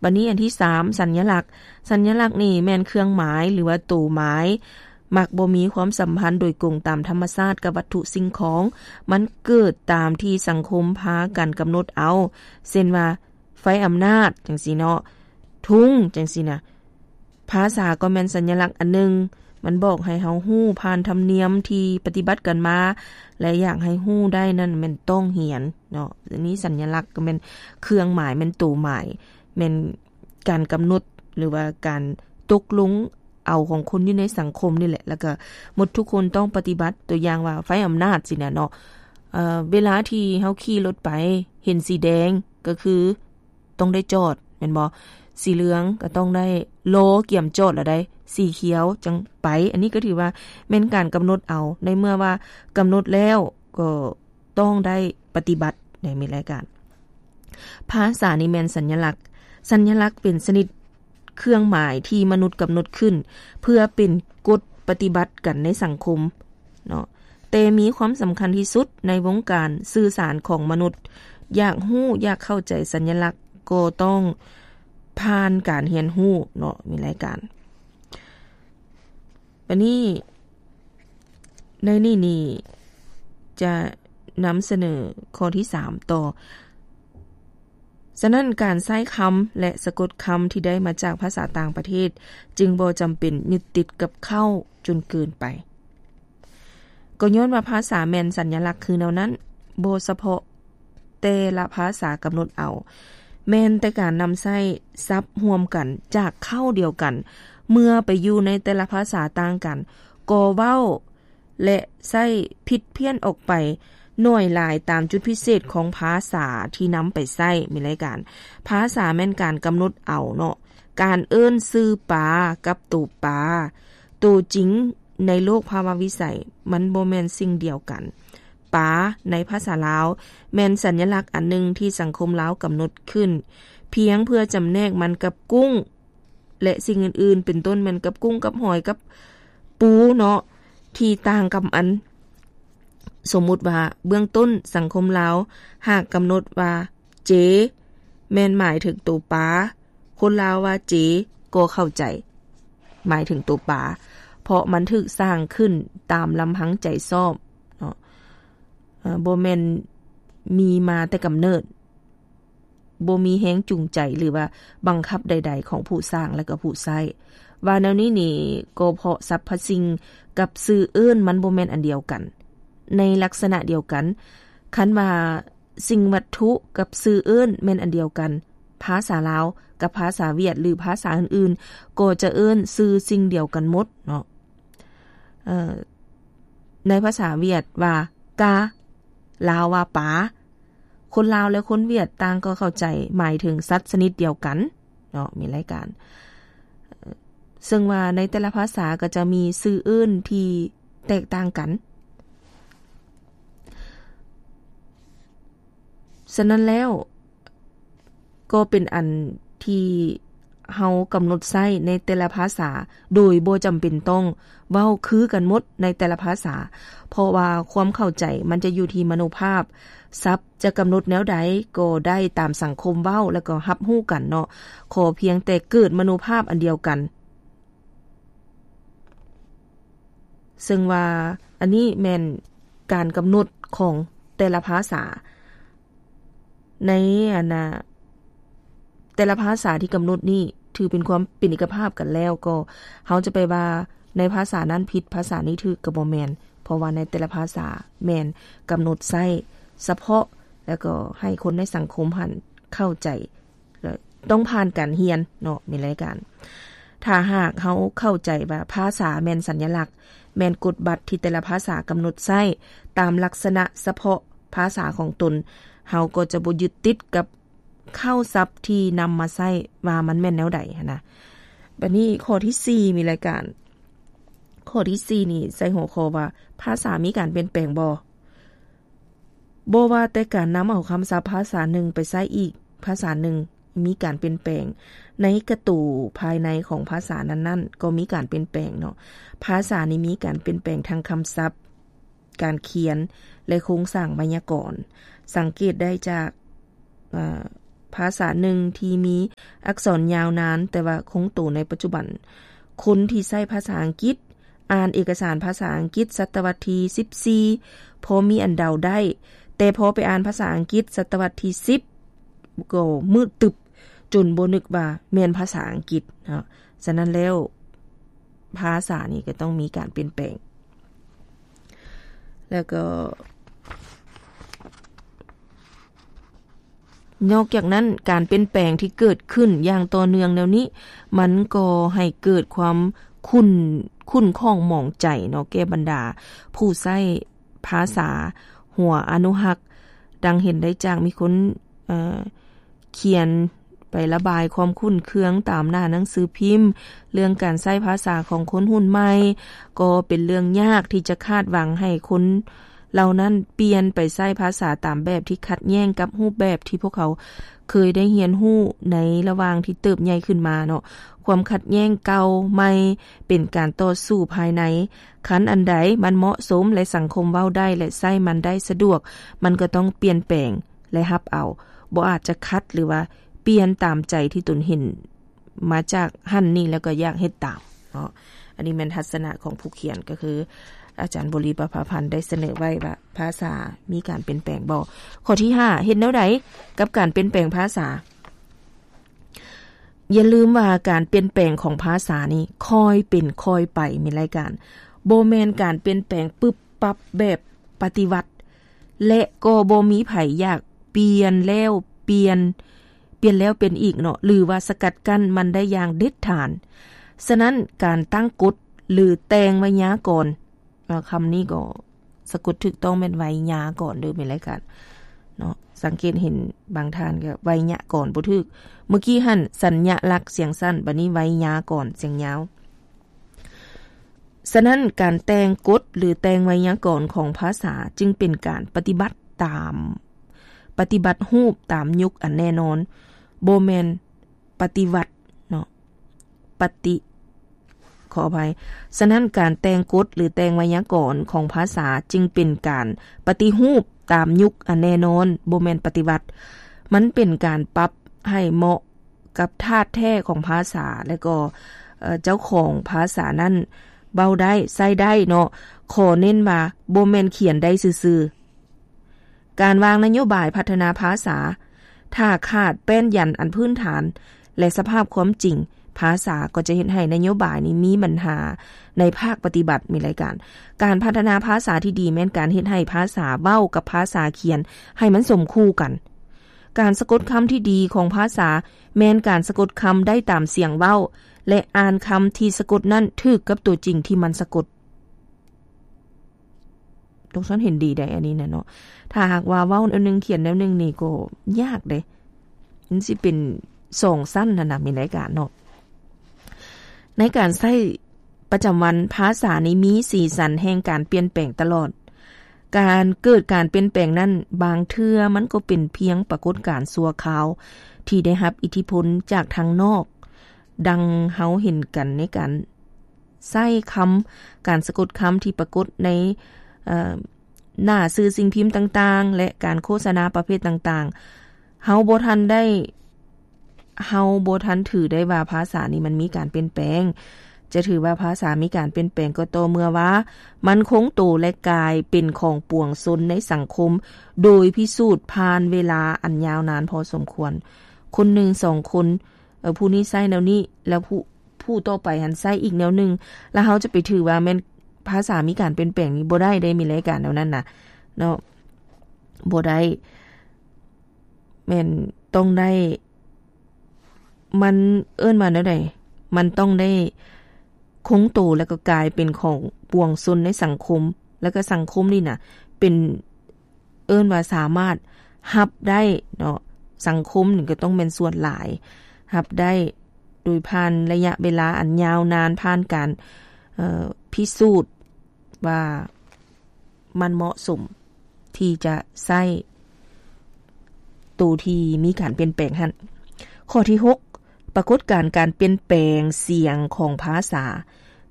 ບັດນີ້ອັນທີສາມ ສັນຍະລັກ. ສັນຍະລັກນີ້ແມ່ນເຄື່ອງໝາຍ ຫຼືວ່າໂຕໝາຍ ມັກບໍ່ມີຄວາມສຳພັນໂດຍກົງຕາມທຳມະຊາດກັບວັດຖຸສິ່ງຂອງ. ມັນເກີດຕາມທີ່ສັງຄົມພາກັນກຳນົດເອົາ ເຊັ່ນວ່າ ໄຟອຳນາດ ຈັ່ງຊີ້ເນາະ, ທຸງ ຈັ່ງຊີ້ນະ. ພາສາກໍແມ່ນສັນຍະລັກອັນໜຶ່ງ, ມັນບອກໃຫ້ເຮົາຮູ້ຜ່ານທຳນຽມທີ່ປະຕິບັດກັນມາ ແລະ ຢາກໃຫ້ຮູ້ໄດ້ນັ້ນແມ່ນຕ້ອງຮຽນເນາະ. ອັນນີ້ສັນຍະລັກກໍແມ່ນເຄື່ອງໝາຍ, ແມ່ນໂຕໝາຍ, ແມ່ນການກຳນົດ ຫຼືວ່າການຕົກລົງເອົາຂອງຄົນຢູ່ໃນສັງຄົມນີ້ແຫຼະ, ແລ້ວກໍໝົດທຸກຄົນຕ້ອງປະຕິບັດ. ຕົວຢ່າງວ່າໄຟອຳນາດຊີ້ນະເນາະ, ເອີ ເວລາທີ່ເຮົາຂີ່ລົດໄປເຫັນສີແດງ ກໍຄື ຕ້ອງໄດ້ຈອດແມ່ນບໍ່? ສີເຫຼືອງກໍຕ້ອງໄດ້ລໍກຽມຈອດແລ້ວໃດ໋ ສີຂຽວຈັ່ງໄປ. ອັນນີ້ກໍຖືວ່າແມ່ນການກຳນົດເອົາ, ໃນເມື່ອວ່າກຳນົດແລ້ວກໍຕ້ອງໄດ້ປະຕິບັດໃນມີລາຍການ. ພາສານີ້ແມ່ນສັນຍະລັກ. ສັນຍະລັກເປັນຊະນິດເຄື່ອງໝາຍທີ່ມະນຸດກຳນົດຂຶ້ນ ເພື່ອເປັນກົດປະຕິບັດກັນໃນສັງຄົມເນາະ. ແຕ່ມີຄວາມສຳຄັນທີ່ສຸດໃນວົງການສື່ສານຂອງມະນຸດ. ຢາກຮູ້, ຢາກເຂົ້າໃຈສັນຍະລັກ ກໍຕ້ອງຜ່ານການຮຽນຮູ້ເນາະ, ມີລາຍການ. ບັດນີ້ ໃນນີ້ນີ້ຈະນຳສະເໜີຂໍ້ທີສາມຕໍ່. ສະນັ້ນ, ການໃຊ້ຄຳ ແລະ ສະກົດຄຳທີ່ໄດ້ມາຈາກພາສາຕ່າງປະເທດ ຈຶ່ງບໍ່ຈຳເປັນຍຶດຕິດກັບເຄົ້າຈົນເກີນໄປ. ກໍຍ້ອນວ່າພາສາແມ່ນສັນຍະລັກຄືແນວນັ້ນ, ບໍ່ສະເພາະແຕ່ລະພາສາກຳນົດເອົາ, ແມ່ນແຕ່ການນຳໃຊ້ສັບຮ່ວມກັນຈາກເຄົ້າດຽວກັນ ເມື່ອໄປຢູ່ໃນແຕ່ລະພາສາຕ່າງກັນ, ກໍເວົ້າ ແລະ ໃຊ້ຜິດພຽນອອກໄປໜ້ອຍຫຼາຍຕາມຈຸດພິເສດຂອງພາສາທີ່ນຳໄປໃຊ້. ມີລາຍການ. ພາສາແມ່ນການກຳນົດເອົາເນາະ, ການເອີ້ນຊື່ປາກັບໂຕປາ ໂຕຈິງໃນໂລກພາວະວິໄສ ມັນບໍ່ແມ່ນສິ່ງດຽວກັນ. ປາໃນພາສາລາວແມ່ນສັນຍະລັກອັນໜຶ່ງທີ່ສັງຄົມລາວກຳນົດຂຶ້ນ ພຽງເພື່ອຈຳແນກມັນກັບກຸ້ງ ແລະ ສິ່ງອື່ນໆ ເປັນຕົ້ນແມ່ນກັບກຸ້ງ ກັບຫອຍ ກັບປູເນາະ ທີ່ຕ່າງກັບອັນ. ສົມມຸດວ່າເບື້ອງຕົ້ນສັງຄົມລາວຫາກກຳນົດວ່າເຈ ແມ່ນໝາຍເຖິງໂຕປາ, ຄົນລາວວ່າເຈກໍເຂົ້າໃຈ ໝາຍເຖິງໂຕປາ ເພາະມັນຖືກສ້າງຂຶ້ນຕາມລຳພັງໃຈຊອບເນາະ, ເອີ ບໍ່ແມ່ນມີມາແຕ່ກຳເນີດ. ບໍ່ມີແຮງຈູງໃຈ ຫຼືວ່າບັງຄັບໃດໆຂອງຜູ້ສ້າງ ແລະ ກໍຜູ້ໃຊ້. ວ່າແນວນີ້ນີ້ ກໍເພາະສັບພະສິ່ງກັບຊື່ເອີ້ນມັນບໍ່ແມ່ນອັນດຽວກັນ. ໃນລັກສະນະດຽວກັນ, ຄັນວ່າສິ່ງວັດຖຸກັບຊື່ເອີ້ນແມ່ນອັນດຽວກັນ, ພາສາລາວກັບພາສາຫວຽດ ຫຼື ພາສາອື່ນໆ ກໍຈະເອີ້ນຊື່ສິ່ງດຽວກັນໝົດເນາະ. ເອີ ໃນພາສາຫວຽດວ່າກາ, ລາວວ່າປາ. ຄົນລາວ ແລະ ຄົນຫວຽດຕ່າງກໍເຂົ້າໃຈໝາຍເຖິງສັດຊະນິດດຽວກັນເນາະ, ມີລາຍການ. ເຊິ່ງວ່າໃນແຕ່ລະພາສາກໍຈະມີຊື່ເອີ້ນທີ່ແຕກຕ່າງກັນ. ສະນັ້ນແລ້ວ ກໍເປັນອັນທີ່ເຮົາກຳນົດໃຊ້ໃນແຕ່ລະພາສາ ໂດຍບໍ່ຈຳເປັນຕ້ອງເວົ້າຄືກັນໝົດໃນແຕ່ລະພາສາ, ເພາະວ່າຄວາມເຂົ້າໃຈມັນຈະຢູ່ທີ່ມະໂນພາບ. ສັບຈະກຳນົດແນວໃດກໍໄດ້ຕາມສັງຄົມເວົ້າ ແລ້ວກໍຮັບຮູ້ກັນເນາະ, ຂໍພຽງແຕ່ເກີດມະໂນພາບອັນດຽວກັນ. ເຊິ່ງວ່າອັນນີ້ແມ່ນການກຳນົດຂອງແຕ່ລະພາສາ. ໃນອັນນ່າ ແຕ່ລະພາສາທີ່ກຳນົດນີ້ຖືເປັນຄວາມເປັນເອກະພາບກັນແລ້ວ, ກໍເຮົາຈະໄປວ່າໃນພາສານັ້ນຜິດ ພາສານີ້ຖືກ ກໍບໍ່ແມ່ນ, ເພາະວ່າໃນແຕ່ລະພາສາແມ່ນກຳນົດໃຊ້ສະເພາະ ແລ້ວກໍໃຫ້ຄົນໃນສັງຄົມຫັ້ນເຂົ້າໃຈ. ແລະ ຕ້ອງຜ່ານການຮຽນເນາະ ມີລາຍການ. ຖ້າຫາກເຮົາເຂົ້າໃຈວ່າພາສາແມ່ນສັນຍະລັກ, ແມ່ນກົດບັດທີ່ແຕ່ລະພາສາກຳນົດໃຊ້ຕາມລັກສະນະສະເພາະພາສາຂອງຕົນ, ເຮົາກໍຈະບໍ່ຍຶດຕິດກັບເຄົ້າສັບທີ່ນຳມາໃຊ້ວ່າມັນແມ່ນແນວໃດຫັ້ນນະ. ບັດນີ້ຂໍ້ທີສີ່ ມີລາຍການ. ຂໍ້ທີສີ່ນີ້ໃສ່ຫົວຂໍ້ວ່າ ພາສາມີການປ່ຽນແປງບໍ່? ບໍ່ວ່າແຕ່ການນຳເອົາຄຳສັບພາສາໜຶ່ງໄປໃຊ້ອີກພາສາໜຶ່ງມີການປ່ຽນແປງ, ໃນກະຕູພາຍໃນຂອງພາສານັ້ນໆກໍມີການປ່ຽນແປງເນາະ. ພາສານີ້ມີການປ່ຽນແປງທັງຄຳສັບ, ການຂຽນ ແລະ ໂຄງສ້າງໄວຍາກອນ. ສັງເກດໄດ້ຈາກ ເອີ ພ ພາສາໜຶ່ງທີ່ມີອັກສອນຍາວນານ ແຕ່ວ່າຄົງໂຕໃນປັດຈຸບັນ. ຄົນທີ່ໃຊ້ພາສາອັງກິດ ອ່ານເອກະສານພາສາອັງກິດສະຕະວັດທີສິບສີ່ ພໍມີອັນເດົາໄດ້, ແຕ່ພໍໄປອ່ານພາສາອັງກິດສະຕະວັດທີສິບ ກໍມືດຕຶບ ຈົນບໍ່ນຶກວ່າແມ່ນພາສາອັງກິດເນາະ. ສະນັ້ນແລ້ວ ພາສານີ້ກໍຕ້ອງມີການປ່ຽນແປງ. ແລ້ວກໍ ນອກຈາກນັ້ນ ການປ່ຽນແປງທີ່ເກີດຂຶ້ນຢ່າງຕໍ່ເນື່ອງແນວນີ້ ມັນກໍໃຫ້ເກີດຄວາມຂຸ້ນ ຂຸ້ນຂ້ອງໝອງໃຈເນາະ ແກ່ບັນດາຜູ້ໃຊ້ພາສາຫົວອະນຸຮັກ. ດັ່ງເຫັນໄດ້ຈາກມີຄົນ ເອີ ຂຽນໄປລະບາຍຄວາມຂຸ້ນເຄືອງຕາມໜ້າໜັງສືພິມ ເລື່ອງການໃຊ້ພາສາຂອງຄົນຮຸ່ນໃໝ່ ກໍເປັນເລື່ອງຍາກທີ່ຈະຄາດຫວັງໃຫ້ຄົນເຫຼົ່ານັ້ນປ່ຽນໄປໃຊ້ພາສາຕາມແບບທີ່ຂັດແຍ້ງກັບຮູບແບບທີ່ພວກເຂົາເຄີຍໄດ້ຮຽນຮູ້ໃນລະຫວ່າງທີ່ເຕີບໃຫຍ່ຂຶ້ນມາເນາະ. ຄວາມຂັດແຍ້ງເກົ່າໃໝ່ເປັນການຕໍ່ສູ້ພາຍໃນ. ຄັນອັນໃດມັນເໝາະສົມ ແລະ ສັງຄົມເວົ້າໄດ້ ແລະ ໃຊ້ມັນໄດ້ສະດວກ, ມັນກໍຕ້ອງປ່ຽນແປງ ແລະ ຮັບເອົາ, ບໍ່ອາດຈະຂັດ ຫຼື ວ່າປ່ຽນຕາມໃຈທີ່ຕົນເຫັນມາຈາກຫັ້ນນີ້ ແລ້ວກໍຢາກເຮັດຕາມເນາະ. ອັນນີ້ແມ່ນທັດສະນະຂອງຜູ້ຂຽນ ກໍຄືອາຈານບົວລີ ປະພາພັນ ໄດ້ສະເໜີໄວ້ວ່າ ພາສາມີການປ່ຽນແປງບໍ່? ຂໍ້ທີຫ້າ ເຮັດແນວໃດກັບການປ່ຽນແປງພາສາ? ຢ່າລືມວ່າການປ່ຽນແປງຂອງພາສານີ້ຄ່ອຍເປັນຄ່ອຍໄປ ມີລາຍການ, ບໍ່ແມ່ນການປ່ຽນແປງປຶບປັບແບບປະຕິວັດ ແລະ ກໍບໍ່ມີໃຜຢາກປ່ຽນແລ້ວປ່ຽນ, ປ່ຽນແລ້ວປ່ຽນອີກເນາະ ຫຼື ວ່າສະກັດກັ້ນມັນໄດ້ຢ່າງເດັດຂາດ. ສະນັ້ນ ການຕັ້ງກົດ ຫຼື ແຕ່ງໄວຍາກອນ, ເອີ ຄຳນີ້ກໍສະກົດຖືກຕ້ອງແມ່ນໄວຍາກອນເດີ ແມ່ນລາຍການເນາະ. ສັງເກດເຫັນບາງທ່ານກໍໄວຍະກອນບໍ່ຖືກ, ເມື່ອກີ້ຫັ້ນສັນຍະລັກສຽງສັ້ນ, ບັດນີ້ໄວຍາກອນສຽງຍາວ. ສະນັ້ນ ການແຕ່ງກົດ ຫຼື ແຕ່ງໄວຍາກອນຂອງພາສາຈຶ່ງເປັນການປະຕິບັດຕາມ, ປະຕິບັດຮູບຕາມຍຸກອັນແນ່ນອນ, ບໍ່ແມ່ນປະຕິວັດເນາະ, ປະຕິ ຂໍອະໄພ. ສະນັ້ນ ການແຕ່ງກົດ ຫຼື ແຕ່ງໄວຍາກອນຂອງພາສາຈຶ່ງເປັນການປະຕິຮູບຕາມຍຸກອັນແນ່ນອນ, ບໍ່ແມ່ນປະຕິວັດ. ມັນເປັນການປັບໃຫ້ເໝາະ ກັບທາດແທ້ຂອງພາສາ ແລະ ກໍ ເອີ ເຈົ້າຂອງພາສານັ້ນເວົ້າໄດ້ ໃຊ້ໄດ້ເນາະ. ຂໍເນັ້ນວ່າບໍ່ແມ່ນຂຽນໄດ້ຊື່ໆ. ການວາງນະໂຍບາຍພັດທະນາພາສາ ຖ້າຂາດແປ້ນຢັນອັນພື້ນຖານ ແລະ ສະພາບຄວາມຈິງ, ພາສາກໍຈະເຮັດໃຫ້ນະໂຍບາຍນີ້ມີບັນຫາໃນພາກປະຕິບັດ. ມີລາຍການ ການພັດທະນາພາສາທີ່ດີແມ່ນການເຮັດໃຫ້ພາສາເວົ້າກັບພາສາຂຽນໃຫ້ມັນສົມຄູ່ກັນ. ການສະກົດຄຳທີ່ດີຂອງພາສາແມ່ນການສະກົດຄຳໄດ້ຕາມສຽງເວົ້າ ແລະ ອ່ານຄຳທີ່ສະກົດນັ້ນຖືກກັບຕົວຈິງທີ່ມັນສະກົດ. ຕົກສັນເຫັນດີໄດ໋ ອັນນີ້ນະເນາະ. ຖ້າຫາກວ່າເວົ້າແນວໜຶ່ງຂຽນແນວໜຶ່ງນີ້ກໍຍາກເດ້. ມັນຊິເປັນສອງຊັ້ນຫັ້ນນະ ມີລາຍການເນາະ. ໃນການໃຊ້ປະຈຳວັນ, ພາສານີ້ມີສີສັນແຫ່ງການປ່ຽນແປງຕະຫຼອດ. ການເກີດການປ່ຽນແປງນັ້ນ ບາງເທື່ອມັນກໍເປັນພຽງປາກົດການຊົ່ວຄາວທີ່ໄດ້ຮັບອິດທິພົນຈາກທາງນອກ, ດັ່ງເຮົາເຫັນກັນໃນການໃຊ້ຄຳ, ການສະກົດຄຳທີ່ປາກົດໃນ, ເອີ, ໜ້າສື່ສິ່ງພິມຕ່າງໆ ແລະ ການໂຄສະນາປະເພດຕ່າງໆ. ເຮົາບໍ່ທັນໄດ້, ເຮົາບໍ່ທັນຖືໄດ້ວ່າພາສານີ້ມັນມີການປ່ຽນແປງ. ຈະຖືວ່າພາສາມີການປ່ຽນແປງກໍຕໍ່ເມື່ອວ່າມັນຄົງໂຕ ແລະ ກາຍເປັນຂອງປວງຊົນໃນສັງຄົມ ໂດຍພິສູດຜ່ານເວລາອັນຍາວນານພໍສົມຄວນ. ຄົນໜຶ່ງສອງຄົນ, ເອີ, ຜູ້ນີ້ໃຊ້ແນວນີ້ ແລ້ວຜູ້, ຜູ້ຕໍ່ໄປຫັ້ນໃຊ້ອີກແນວໜຶ່ງ, ແລ້ວເຮົາຈະໄປຖືວ່າແມ່ນພາສາມີການປ່ຽນແປງນີ້ບໍ່ໄດ້ເດ້, ມີລາຍການແນວນັ້ນນະເນາະ. ບໍ່ໄດ້. ແມ່ນຕ້ອງໄດ້, ມັນເອີ້ນວ່າແນວໃດ? ມັນຕ້ອງໄດ້ຄົງໂຕ ແລ້ວກໍກາຍເປັນຂອງປວງຊົນໃນສັງຄົມ, ແລ້ວກໍສັງຄົມນີ້ນະ ເປັນ, ເອີ້ນວ່າສາມາດຮັບໄດ້ເນາະ, ສັງຄົມນີ້ກໍຕ້ອງແມ່ນສ່ວນຫຼາຍ ຮັບໄດ້ໂດຍຜ່ານໄລຍະເວລາອັນຍາວນານ, ຜ່ານການ, ເອີ, ພິສູດ ວ່າມັນເໝາະສົມທີ່ຈະໃຊ້ໂຕທີ່ມີການປ່ຽນແປງຫັ້ນ. ຂໍ້ທີຫົກ ປາກົດການການປ່ຽນແປງສຽງຂອງພາສາ.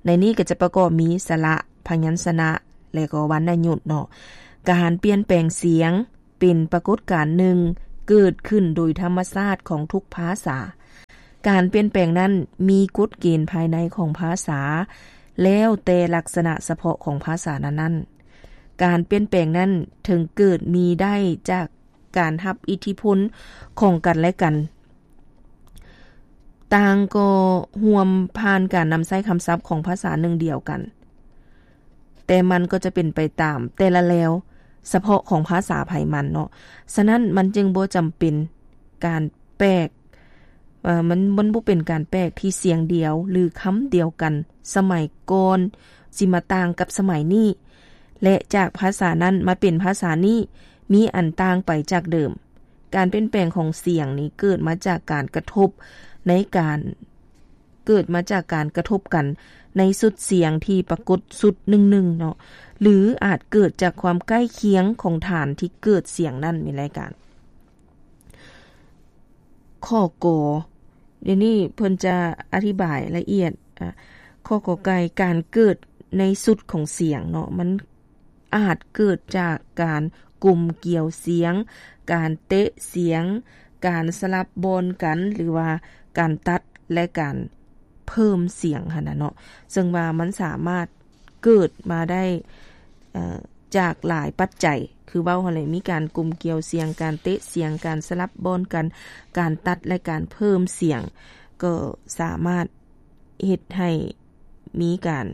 ໃນນີ້ກໍຈະປະກອບມີສະຫຼະ, ພະຍັນຊະນະ ແລະ ກໍວັນນະຍຸດເນາະ. ການປ່ຽນແປງສຽງ ເປັນປາກົດການໜຶ່ງ ເກີດຂຶ້ນໂດຍທຳມະຊາດຂອງທຸກພາສາ. ການປ່ຽນແປງນັ້ນມີກົດເກນພາຍໃນຂອງພາສາ ແລ້ວແຕ່ລັກສະນະສະເພາະຂອງພາສານັ້ນໆ. ການປ່ຽນແປງນັ້ນເຖິງເກີດມີໄດ້ຈາກການຮັບອິດທິພົນຂອງກັນແລະກັນ. ຕ່າງກໍຮ່ວມຜ່ານການນຳໃຊ້ຄຳສັບຂອງພາສາໜຶ່ງດຽວກັນ, ແຕ່ມັນກໍຈະເປັນໄປຕາມແຕ່ລະແລວສະເພາະຂອງພາສາໃຜມັນເນາະ. ສະນັ້ນມັນຈຶ່ງບໍ່ຈຳເປັນການແປກ, ເອີ່ ມັນ, ມັນບໍ່ເປັນການແປກທີ່ສຽງດຽວ ຫຼື ຄຳດຽວກັນສະໄໝກ່ອນຊິມາຕ່າງກັບສະໄໝນີ້ ແລະ ຈາກພາສານັ້ນມາເປັນພາສານີ້ ມີອັນຕ່າງໄປຈາກເດີມ. ການປ່ຽນແປງຂອງສຽງນີ້ເກີດມາຈາກການກະທົບໃນການ, ເກີດມາຈາກການກະທົບກັນໃນຊຸດສຽງທີ່ປາກົດຊຸດໜຶ່ງໆເນາະ ຫຼື ອາດເກີດຈາກຄວາມໃກ້ຄຽງຂອງຖານທີ່ເກີດສຽງນັ້ນ. ມີລາຍການຂໍ້ ກ, ດຽວນີ້ເພິ່ນຈະອະທິບາຍລະອຽດ. ອາ, ຂໍ້ ກ, ການເກີດໃນຊຸດຂອງສຽງເນາະ ມັນ ອາດເກີດຈາກການກົມກຽວສຽງ, ການເຕະສຽງ, ການສະຫຼັບບ່ອນກັນ ຫຼືວ່າການຕັດ ແລະ ການເພີ່ມສຽງຫັ້ນນະເນາະ. ເຊິ່ງວ່າມັນສາມາດເກີດມາໄດ້, ເອີ່, ຈາກຫຼາຍປັດໄຈ ຄືເວົ້າຫັ້ນແຫຼະ, ມີການກົມກຽວສຽງ, ການເຕະສຽງ, ການສະຫຼັບບ່ອນກັນ, ການຕັດ ແລະ ການເພີ່ມສຽງ ກໍສາມາດ ເຮັດໃຫ້ມີການ,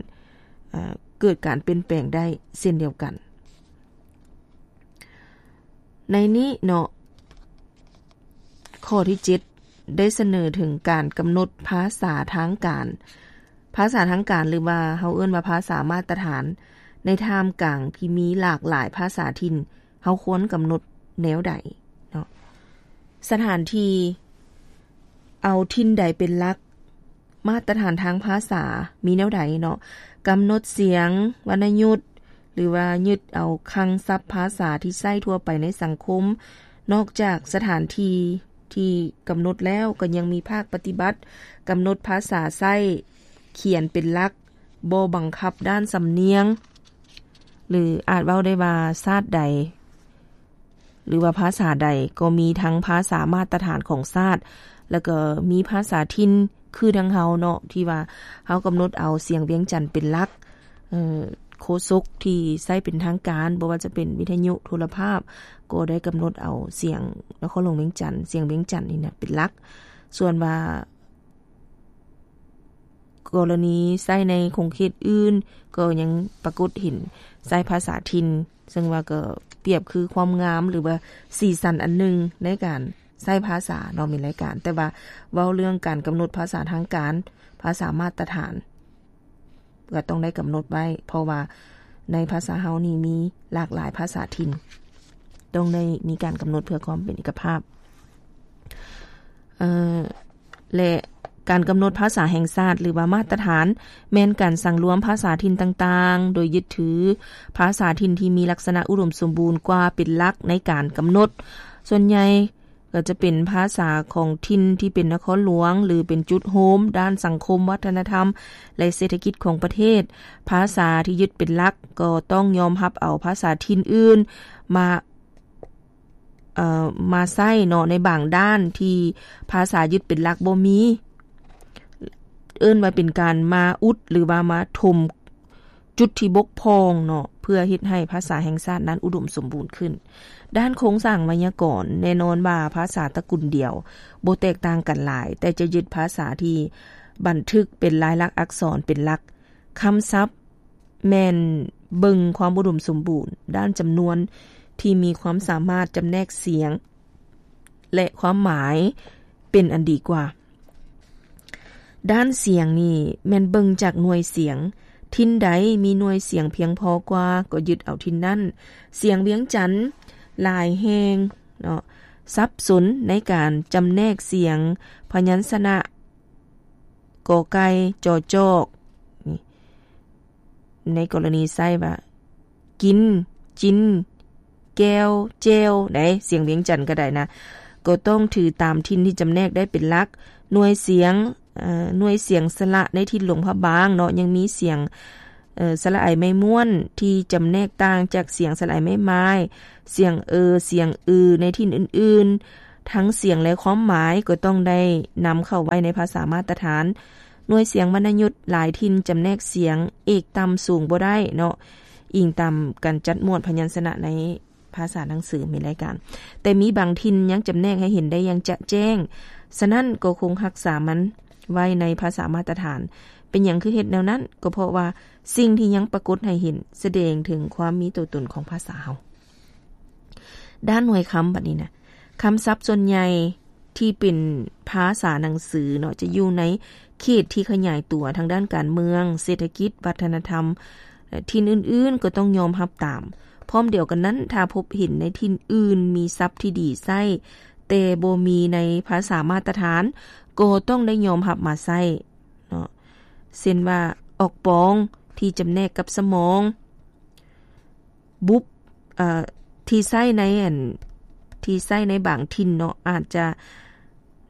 ເອີ່, ເກີດການປ່ຽນແປງໄດ້ເຊັ່ນດຽວກັນ. ໃນນີ້ເນາະ, ຂໍ້ທີເຈັດ ໄດ້ສະເໜີເຖິງການກຳນົດພາສາທາງການ. ພາສາທາງການ ຫຼືວ່າເຮົາເອີ້ນວ່າພາສາມາດຕະຖານ ໃນທ່າມກາງທີ່ມີຫຼາກຫຼາຍພາສາຖິ່ນ ເຮົາຄວນກຳນົດແນວໃດເນາະ? ສະຖານທີ່ເອົາຖິ່ນໃດເປັນຫຼັກ? ມາດຕະຖານທາງພາສາມີແນວໃດເນາະ? ກຳນົດສຽງວັນນະຍຸດ ຫຼືວ່າຍຶດເອົາຄັງສັບພາສາທີ່ໃຊ້ທົ່ວໄປໃນສັງຄົມ. ນອກຈາກສະຖານທີ່ທີ່ກຳນົດແລ້ວ, ກໍຍັງມີພາກປະຕິບັດ ກຳນົດພາສາໃຊ້ຂຽນເປັນຫຼັກ, ບໍ່ບັງຄັບດ້ານສຳນຽງ ຫຼື ອາດເວົ້າໄດ້ວ່າຊາດໃດ ຫຼືວ່າພາສາໃດກໍມີທັງພາສາມາດຕະຖານຂອງຊາດ ແລ້ວກໍມີພາສາຖິ່ນຄືທາງເຮົາເນາະ ທີ່ວ່າເຮົາກຳນົດເອົາສຽງວຽງຈັນເປັນຫຼັກ. ເອີ່, ໂຄສົກທີ່ໃຊ້ເປັນທາງການ ບໍ່ວ່າຈະເປັນວິທະຍຸ, ໂທລະພາບ ກໍໄດ້ກຳນົດເອົາສຽງນະຄອນຫຼວງວຽງຈັນ, ສຽງວຽງຈັນນີ້ນະເປັນຫຼັກ. ສ່ວນວ່າ ກໍລະນີໃຊ້ໃນຂົງເຂດອື່ນ ກໍຍັງປາກົດເຫັນໃຊ້ພາສາຖິ່ນ, ເຊິ່ງວ່າກໍປຽບຄືຄວາມງາມ ຫຼືວ່າສີສັນອັນໜຶ່ງໃນການໃຊ້ພາສາເນາະ ມີລາຍການ. ແຕ່ວ່າເວົ້າເລື່ອງການກຳນົດພາສາທາງການ, ພາສາມາດຕະຖານ ກໍຕ້ອງໄດ້ກຳນົດໄວ້, ເພາະວ່າໃນພາສາເຮົານີ້ມີຫຼາກຫຼາຍພາສາຖິ່ນ, ຕ້ອງໄດ້ມີການກຳນົດເພື່ອຄວາມເປັນເອກະພາບ. ເອີ່, ແລະ ການກຳນົດພາສາແຫ່ງຊາດ ຫຼືວ່າມາດຕະຖານ ແມ່ນການສັງລວມພາສາຖິ່ນຕ່າງໆ ໂດຍຍຶດຖືພາສາຖິ່ນທີ່ມີລັກສະນະອຸດົມສົມບູນກວ່າເປັນຫຼັກໃນການກຳນົດ. ສ່ວນໃຫຍ່ກໍຈະເປັນພາສາຂອງຖິ່ນທີ່ເປັນນະຄອນຫຼວງ ຫຼື ເປັນຈຸດໂຮມດ້ານສັງຄົມ, ວັດທະນະທຳ ແລະ ເສດຖະກິດຂອງປະເທດ. ພາສາທີ່ຍຶດເປັນຫຼັກກໍຕ້ອງຍອມຮັບເອົາພາສາຖິ່ນອື່ນມາ ເອີ່ ມາໃຊ້ເນາະ ໃນບາງດ້ານທີ່ພາສາຍຶດເປັນຫຼັກບໍ່ມີ, ເອີ້ນວ່າເປັນການມາອຸດ ຫຼືວ່າມາຖົມຈຸດທີ່ບົກຜ່ອງເນາະ ເພື່ອເຮັດໃຫ້ພາສາແຫ່ງຊາດນັ້ນອຸດົມສົມບູນຂຶ້ນ. ດ້ານໂຄງສ້າງໄວຍາກອນ, ແນ່ນອນວ່າພາສາຕະກຸນດຽວບໍ່ແຕກຕ່າງກັນຫຼາຍ, ແຕ່ຈະຍຶດພາສາທີ່ບັນທຶກເປັນລາຍລັກອັກສອນເປັນຫຼັກ. ຄຳສັບ ແມ່ນເບິ່ງຄວາມອຸດົມສົມບູນດ້ານຈຳນວນທີ່ມີຄວາມສາມາດຈຳແນກສຽງ ແລະ ຄວາມໝາຍເປັນອັນດີກວ່າ. ດ້ານສຽງນີ້ແມ່ນເບິ່ງຈາກໜ່ວຍສຽງ, ຖິ່ນໃດມີໜ່ວຍສຽງພຽງພໍກວ່າກໍຍຶດເອົາຖິ່ນນັ້ນ. ສຽງວຽງຈັນຫຼາຍແຫ່ງເນາະ ສັບສົນໃນການຈຳແນກສຽງພະຍັນຊະນະ ກ ໄກ່ ຈ ຈອກ ນີ້ ໃນກໍລະນີໃຊ້ວ່າ ກິນ, ຈິນ, ແກ້ວ, ແຈ່ວ ໃດ໋ ສຽງວຽງຈັນກໍໄດ້ນະ ກໍຕ້ອງຖືຕາມຖິ່ນທີ່ຈຳແນກໄດ້ເປັນຫຼັກ. ໜ່ວຍສຽງ, ເອີ່, ໜ່ວຍສຽງສະຫຼະໃນຖິ່ນຫຼວງພະບາງເນາະ ຍັງມີສຽງ, ເອີ່, ສະຫຼະໄອໄມ້ມ້ວນທີ່ຈຳແນກຕ່າງຈາກສຽງສະຫຼະໄອໄມ້ໝາຍ, ສຽງເອີ, ສຽງອືໃນຖິ່ນອື່ນໆ. ທັງສຽງ ແລະ ຄວາມໝາຍ ກໍຕ້ອງໄດ້ນຳເຂົ້າໄວ້ໃນພາສາມາດຕະຖານ. ໜ່ວຍສຽງວັນນະຍຸດຫຼາຍຖິ່ນຈຳແນກສຽງເອກຕ່ຳສູງບໍ່ໄດ້ເນາະ, ອີງຕາມການຈັດໝວດພະຍັນຊະນະໃນພາສາໜັງສື ມີລາຍການ, ແຕ່ມີບາງຖິ່ນຍັງຈຳແນກໃຫ້ເຫັນໄດ້ຢ່າງຈະແຈ້ງ, ສະນັ້ນກໍຄົງຮັກສາມັນໄວ້ໃນພາສາມາດຕະຖານ. ເປັນຫຍັງຄືເຮັດແນວນັ້ນ? ກໍເພາະວ່າສິ່ງທີ່ຍັງປາກົດໃຫ້ເຫັນ ສະແດງເຖິງຄວາມມີຕົວຕົນຂອງພາສາເຮົາ. ດ້ານໜ່ວຍຄຳບັດນີ້ນະ, ຄຳສັບສ່ວນໃຫຍ່ທີ່ເປັນພາສາໜັງສືເນາະ ຈະຢູ່ໃນເຂດທີ່ຂະຫຍາຍຕົວທາງດ້ານການເມືອງ, ເສດຖະກິດ, ວັດທະນະທຳ, ແລະ ຖິ່ນອື່ນໆ ກໍຕ້ອງຍອມຮັບຕາມ. ພ້ອມດຽວກັນນັ້ນ, ຖ້າພົບເຫັນໃນຖິ່ນອື່ນມີສັບທີ່ດີໃຊ້ ແຕ່ບໍ່ມີໃນພາສາມາດຕະຖານ, ກໍຕ້ອງໄດ້ຍອມຮັບມາໃຊ້ເນາະ, ເຊັ່ນວ່າ ອອກປອງທີ່ຈຳແນກກັບສະໝອງ, ບຸບ ເອີ ທີ່ໃຊ້ໃນອັນ ທີ່ໃຊ້ໃນບາງຖິ່ນເນາະ ອາດຈະ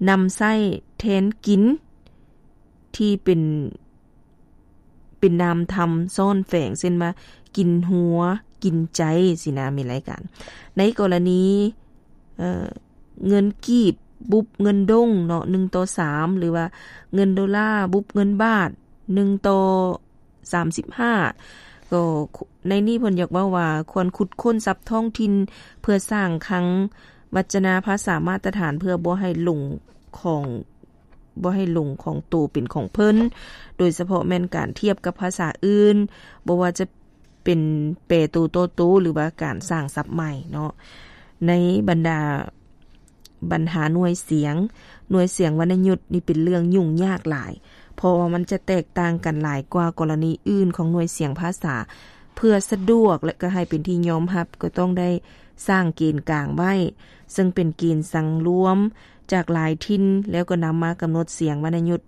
ນຳໃຊ້ແທນກິນ ທີ່ເປັນ ເປັນນາມທຳຊ້ອນແຝງ ເຊັ່ນວ່າ ກິນຫົວ ກິນໃຈ ຊີ້ນະ ມີລາຍການ. ໃນກໍລະນີ ເອີ ເງິນກີບ ບຸບເງິນດົງເນາະ ໜຶ່ງຕໍ່ສາມ ຫຼືວ່າເງິນໂດລາ ບຸບເງິນບາດ ໜຶ່ງຕໍ່ ສາມສິບຫ້າ ກໍໃນນີ້ເພິ່ນຢາກເວົ້າວ່າ ຄວນຂຸດຄົ້ນສັບທ້ອງຖິ່ນ ເພື່ອສ້າງຄັງວັດຈະນາພາສາມາດຕະຖານ ເພື່ອບໍ່ໃຫ້ຫຼົງຂອງ ບໍ່ໃຫ້ຫຼົງຂອງໂຕເປັນຂອງເພິ່ນ, ໂດຍສະເພາະແມ່ນການທຽບກັບພາສາອື່ນ, ບໍ່ວ່າຈະເປັນແປໂຕຕໍ່ໂຕ ຫຼືວ່າການສ້າງສັບໃໝ່ເນາະ. ໃນບັນດາ ບັນຫາໜ່ວຍສຽງ, ໜ່ວຍສຽງວັນນະຍຸດນີ້ເປັນເລື່ອງຫຍຸ້ງຍາກຫຼາຍ, ເພາະວ່າມັນຈະແຕກຕ່າງກັນຫຼາຍກວ່າກໍລະນີອື່ນຂອງໜ່ວຍສຽງພາສາ. ເພື່ອສະດວກ ແລະ ກໍໃຫ້ເປັນທີ່ຍອມຮັບ, ກໍຕ້ອງໄດ້ສ້າງເກນກາງໄວ້, ເຊິ່ງເປັນເກນສັງລວມຈາກຫຼາຍຖິ່ນ, ແລ້ວກໍນຳມາກຳນົດສຽງວັນນະຍຸດ,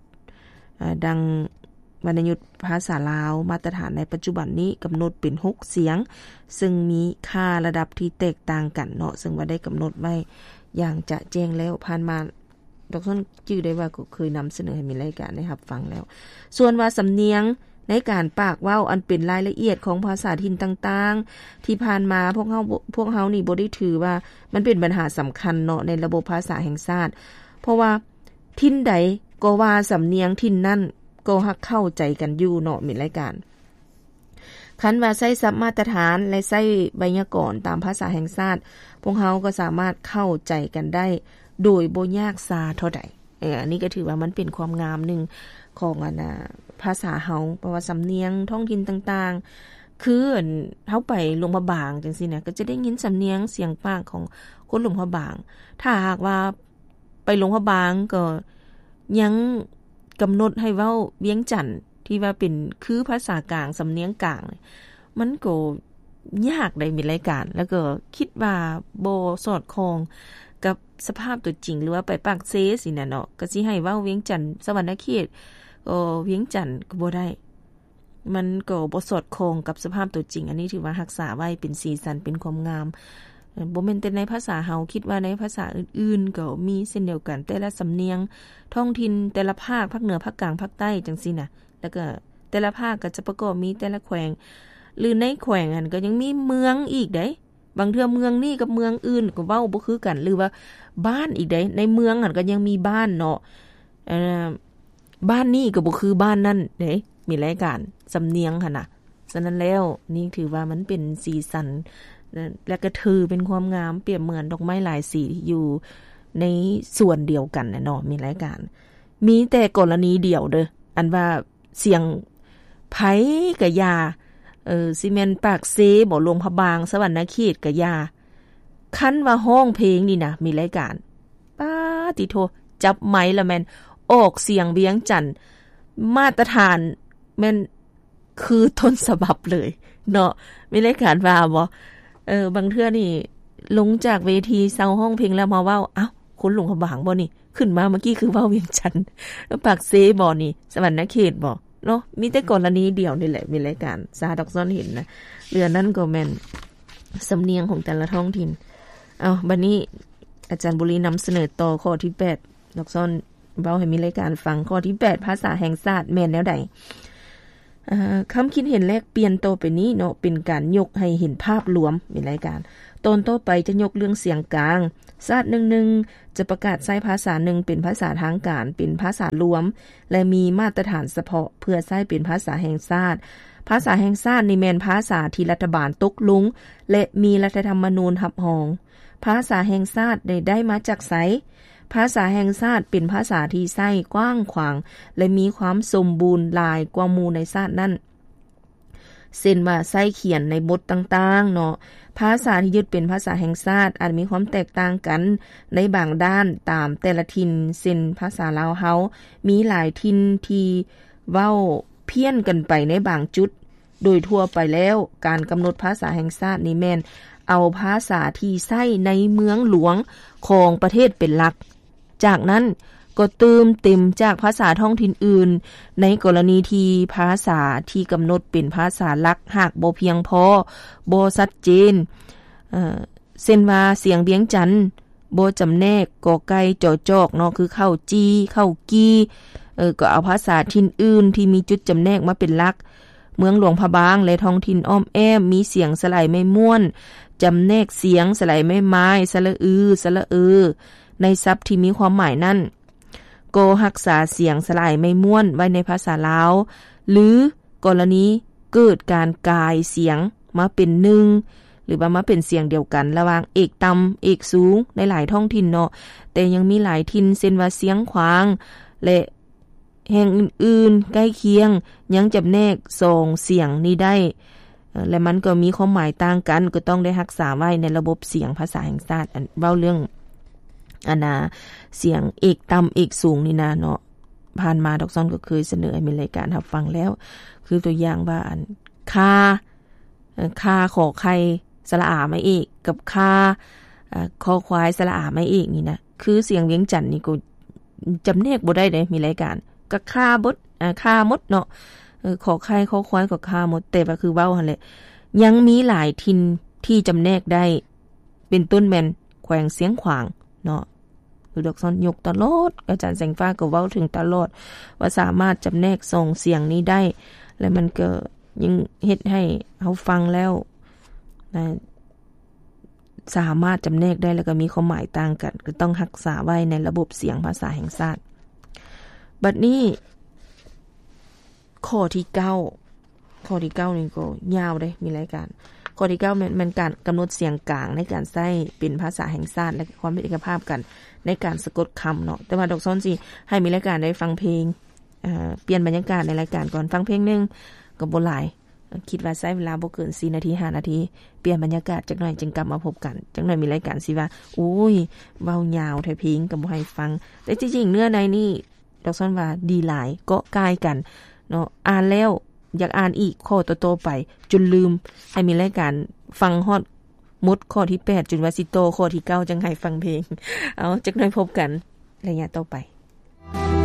ອາ, ດັ່ງ ວັນນະຍຸດພາສາລາວມາດຕະຖານໃນປັດຈຸບັນນີ້ກຳນົດເປັນຫົກສຽງ, ເຊິ່ງມີຄ່າລະດັບທີ່ແຕກຕ່າງກັນເນາະ, ເຊິ່ງວ່າໄດ້ກຳນົດໄວ້ຢ່າງຈະແຈ້ງແລ້ວ. ຜ່ານມາ ດອກຊອນຈື່ໄດ້ວ່າກໍເຄີຍນຳສະເໜີໃຫ້ມີລາຍການໄດ້ຮັບຟັງແລ້ວ. ສ່ວນວ່າສຳນຽງໃນການປາກເວົ້າ ອັນເປັນລາຍລະອຽດຂອງພາສາຖິ່ນຕ່າງໆ ທີ່ຜ່ານມາພວກເຮົາ ພວກເຮົານີ້ບໍ່ໄດ້ຖືວ່າມັນເປັນບັນຫາສຳຄັນເນາະ ໃນລະບົບພາສາແຫ່ງຊາດ, ເພາະວ່າ ຖິ່ນໃດກໍວ່າສຳນຽງຖິ່ນນັ້ນກໍຫາກເຂົ້າໃຈກັນຢູ່ເນາະ ມີລາຍການ. ຄັນວ່າໃຊ້ສັບມາດຕະຖານ ແລະ ໃຊ້ໄວຍາກອນຕາມພາສາແຫ່ງຊາດ, ພວກເຮົາກໍສາມາດເຂົ້າໃຈກັນໄດ້ໂດຍບໍ່ຍາກຊາເທົ່າໃດ. ເອີ ອັນນີ້ກໍຖືວ່າມັນເປັນຄວາມງາມໜຶ່ງຂອງ ອັນນ່າ ພາສາເຮົາ, ເພາະວ່າສຳນຽງທ້ອງຖິ່ນຕ່າງໆ ຄື ອັນ ເຮົາໄປຫຼວງພະບາງຈັ່ງຊີ້ນະ ກໍຈະໄດ້ຍິນສຳນຽງສຽງປາກຂອງຄົນຫຼວງພະບາງ. ຖ້າຫາກວ່າ ໄປຫຼວງພະບາງກໍຍັງກຳນົດໃຫ້ເວົ້າວຽງຈັນ ທີ່ວ່າເປັນຄືພາສາກາງ ສຳນຽງກາງ, ມັນກໍຍາກໄດ໋ ມີລາຍການ, ແລ້ວກໍຄິດວ່າບໍ່ສອດຄ່ອງກັບສະພາບຕົວຈິງ ຫຼືວ່າໄປປາກເຊຊີ້ນະເນາະ, ກໍຊິໃຫ້ເວົ້າວຽງຈັນ ສະຫວັນນະເຂດ ກໍວຽງຈັນກໍບໍ່ໄດ້. ມັນກໍບໍ່ສອດຄ່ອງກັບສະພາບຕົວຈິງ. ອັນນີ້ຖືວ່າຮັກສາໄວ້ເປັນສີສັນ ເປັນຄວາມງາມ. ເອີ ບໍ່ແມ່ນແຕ່ໃນພາສາເຮົາ, ຄິດວ່າໃນພາສາອື່ນໆກໍມີເຊັ່ນດຽວກັນ, ແຕ່ລະສຳນຽງທ້ອງຖິ່ນ ແຕ່ລະພາກ, ພາກເໜືອ, ພາກກາງ, ພາກໃຕ້ ຈັ່ງຊີ້ນະ. ແລ້ວກໍແຕ່ລະພາກກໍຈະປະກອບມີແຕ່ລະແຂວງ, ຫຼື ໃນແຂວງຫັ້ນກໍຍັງມີເມືອງອີກເດ້. ບາງເທື່ອເມືອງນີ້ກັບເມືອງອື່ນກໍເວົ້າບໍ່ຄືກັນ, ຫຼືວ່າບ້ານອີກເດ້. ໃນເມືອງຫັ້ນກໍຍັງມີບ້ານເນາະ, ເອີ ບ້ານນີ້ກໍບໍ່ຄືບ້ານນັ້ນເດ້, ມີລາຍການສຳນຽງຫັ້ນນະ. ສະນັ້ນແລ້ວ ນີ້ຖືວ່າມັນເປັນສີສັນ ແລະ ກະຖືເປັນຄວາມງາມ, ປຽບເໝືອນດອກໄມ້ຫຼາຍສີທີ່ຢູ່ໃນສວນດຽວກັນນະເນາະ, ມີລາຍການ. ມີແຕ່ກໍລະນີດຽວເດີ້ ອັນວ່າ ສຽງໃຜກະຢ່າ, ເອີ ຊິແມ່ນປາກເຊບໍ, ຫຼວງພະບາງ, ສະຫວັນນະເຂດກະຢ່າ, ຄັນວ່າຮ້ອງເພງນີ້ນະ ມີລາຍການ ປາຕິໂທ ຈັບໄມລະແມ່ນອອກສຽງວຽງຈັນ ມາດຕະຖານ ແມ່ນຄືຕົ້ນສະບັບເລີຍເນາະ, ມີລາຍການວ່າບໍ່? ເອີ ບາງເທື່ອນີ້ລົງຈາກເວທີເຊົາຮ້ອງເພງແລ້ວມາເວົ້າ, ອ້າວ ຄົນຫຼວງພະບາງບໍ່ນີ້? ຂຶ້ນມາເມື່ອກີ້ຄືເວົ້າວຽງຈັນ, ປາກເຊບໍ່ນີ້? ສະຫວັນນະເຂດບໍ່ເນາະ? ມີແຕ່ກໍລະນີດຽວນີ້ແຫຼະ ມີລາຍການຊາດອກຊອນເຫັນນະ. ເລື່ອງນັ້ນກໍແມ່ນສຳນຽງຂອງແຕ່ລະທ້ອງຖິ່ນ. ເອົາ ບັດນີ້ອາຈານບຸລີນຳສະເໜີຕໍ່ຂໍ້ທີແປດ ດອກຊອນເວົ້າໃຫ້ມີລາຍການຟັງ. ຂໍ້ທີແປດ ພາສາແຫ່ງຊາດແມ່ນແນວໃດ? ຄຳຄິດເຫັນແລກປ່ຽນຕໍ່ໄປນີ້ເນາະ ເປັນການຍົກໃຫ້ເຫັນພາບລວມ ມີລາຍການ. ຕອນຕໍ່ໄປຈະຍົກເລື່ອງສຽງກາງ. ຊາດໜຶ່ງໆ ຈະປະກາດໃຊ້ພາສາໜຶ່ງເປັນພາສາທາງການ, ເປັນພາສາລວມ ແລະ ມີມາດຕະຖານສະເພາະເພື່ອໃຊ້ເປັນພາສາແຫ່ງຊາດ. ພາສາແຫ່ງຊາດນີ້ແມ່ນພາສາທີ່ລັດຖະບານຕົກລົງ ແລະ ມີລັດຖະທຳມະນູນຮັບຮອງ. ພາສາແຫ່ງຊາດໄດ້ ໄດ້ມາຈາກໃສ? ພາສາແຫ່ງຊາດເປັນພາສາທີ່ໃຊ້ກວ້າງຂວາງ ແລະ ມີຄວາມສົມບູນຫຼາຍກວ່າໝູ່ໃນຊາດນັ້ນ. ເຊັ່ນວ່າໃຊ້ຂຽນໃນບົດຕ່າງໆເນາະ. ພາສາທີ່ຍຶດເປັນພາສາແຫ່ງຊາດອາດມີຄວາມແຕກຕ່າງກັນໃນບາງດ້ານຕາມແຕ່ລະຖິ່ນ, ເຊັ່ນ ພາສາລາວເຮົາ ມີຫຼາຍຖິ່ນທີ່ເວົ້າພຽ້ນກັນໄປໃນບາງຈຸດ. ໂດຍທົ່ວໄປແລ້ວ ການກຳນົດພາສາແຫ່ງຊາດນີ້ແມ່ນເອົາພາສາທີ່ໃຊ້ໃນເມືອງຫຼວງຂອງປະເທດເປັນຫຼັກ. ຈາກນັ້ນກໍເຕີມເຕັມຈາກພາສາທ້ອງຖິ່ນອື່ນ ໃນກໍລະນີທີ່ພາສາທີ່ກຳນົດເປັນພາສາຫຼັກຫາກບໍ່ພຽງພໍ, ບໍ່ຊັດເຈນ, ເອີ ເຊັ່ນວ່າສຽງວຽງຈັນບໍ່ຈຳແນກ ກໍໄກ່ ຈອຈອກ ເນາະ ຄືເຂົ້າຈີ່ ເຂົ້າກີ່, ເອີ ກໍເອົາພາສາຖິ່ນອື່ນທີ່ມີຈຸດຈຳແນກມາເປັນຫຼັກ. ເມືອງຫຼວງພະບາງ ແລະ ທ້ອງຖິ່ນອ້ອມແອ້ມ ມີສຽງສະຫຼາຍໄມ້ມ້ວນ ຈຳແນກສຽງສະຫຼາຍໄມ້ມ້າຍ ສະຫຼະອື ສະຫຼະເອີ ໃນສັບທີ່ມີຄວາມໝາຍນັ້ນ ກໍຮັກສາສຽງສະຫຼາຍໄມ້ມ້ວນໄວ້ໃນພາສາລາວ ຫຼື ກໍລະນີເກີດການກາຍສຽງມາເປັນໜຶ່ງ ຫຼືວ່າມາເປັນສຽງດຽວກັນລະຫວ່າງເອກຕ່ຳ ເອກສູງ ໃນຫຼາຍທ້ອງຖິ່ນເນາະ, ແຕ່ຍັງມີຫຼາຍຖິ່ນ ເຊັ່ນວ່າຊຽງຂວາງ ແລະ ແຫ່ງອື່ນໆໃກ້ຄຽງ ຍັງຈຳແນກສອງສຽງນີ້ໄດ້ ເອີ ແລະ ມັນກໍມີຄວາມໝາຍຕ່າງກັນ ກໍຕ້ອງໄດ້ຮັກສາໄວ້ໃນລະບົບສຽງພາສາແຫ່ງຊາດ. ອັນ ເວົ້າເລື່ອງ ອັນນາ ສຽງເອກຕ່ຳເອກສູງນີ້ນະເນາະ, ຜ່ານມາດອກຊອນກໍເຄີຍສະເໜີໃຫ້ມີລາຍການຮັບຟັງແລ້ວ ຄືຕົວຢ່າງວ່າ ອັນ ຄາ ເອີ ຄາ ຂໍໄຂ່ ສະຫຼະອາ ໄມ້ເອກ ກັບ ຄາ ເອີ ຄໍຄວາຍ ສະຫຼະອາ ໄມ້ເອກນີ້ນະ ຄືສຽງວຽງຈັນນີ້ກໍຈຳແນກບໍ່ໄດ້ເດ້ ມີລາຍການ ກໍຄາໝົດ ອາ ຄາໝົດເນາະ ເອີ ຂໍໄຂ່ ຄໍຄວາຍ ກໍຄາໝົດ. ແຕ່ວ່າຄືເວົ້າຫັ້ນແຫຼະ ຍັງມີຫຼາຍຖິ່ນທີ່ຈຳແນກໄດ້ ເປັນຕົ້ນແມ່ນແຂວງຊຽງຂວາງເນາະ ຄືດອກຊອນຍົກຕະຫຼອດ, ອາຈານແສງຟ້າກໍເວົ້າເຖິງຕະຫຼອດ ວ່າສາມາດຈຳແນກສອງສຽງນີ້ໄດ້ ແລະ ມັນກໍ ຍັງເຮັດໃຫ້ເຮົາຟັງແລ້ວນະ ສາມາດຈຳແນກໄດ້ ແລ້ວກໍມີຄວາມໝາຍຕ່າງກັນ ກໍຕ້ອງຮັກສາໄວ້ໃນລະບົບສຽງພາສາແຫ່ງຊາດ. ບັດນີ້ ຂໍ້ທີເກົ້າ ຂໍ້ທີເກົ້ານີ້ກໍຍາວເດ້ ມີລາຍການ. ຂໍ້ທີເກົ້າແມ່ນ ແມ່ນການກຳນົດສຽງກາງໃນການໃຊ້ເປັນພາສາແຫ່ງຊາດ ແລະ ຄວາມເປັນເອກະພາບກັນໃນການສະກົດຄຳເນາະ. ແຕ່ວ່າດອກຊອນຊິໃຫ້ມີລາຍການໄດ້ຟັງເພງ ເອີ ປ່ຽນບັນຍາກາດໃນລາຍການກ່ອນ. ຟັງເພງໜຶ່ງກໍບໍ່ຫຼາຍ, ຄິດວ່າໃຊ້ເວລາບໍ່ເກີນສີ່ນາທີ ຫ້ານາທີ. ປ່ຽນບັນຍາກາດຈັກໜ່ອຍຈຶ່ງກັບມາພົບກັນ. ຈັກໜ່ອຍມີລາຍການຊິວ່າ ໂອ້ຍ ເວົ້າຍາວແທ້ ເພງກໍບໍ່ໃຫ້ຟັງ. ແຕ່ທີ່ຈິງເນື້ອໃນນີ້ ດອກຊອນວ່າດີຫຼາຍ, ເກາະກ່າຍກັນເນາະ. ອ່ານແລ້ວຢາກອ່ານອີກຂໍ້ຕໍ່ໆໄປ ຈົນລືມ. ໃຫ້ມີລາຍການຟັງຮອດໝົດຂໍ້ທີແປດ ຈົນວ່າຊິຕໍ່ຂໍ້ທີເກົ້າ ຈັ່ງໃຫ້ຟັງເພງ. ເອົາ ຈັກໜ່ອຍພົບກັນໄລຍະຕໍ່ໄປ.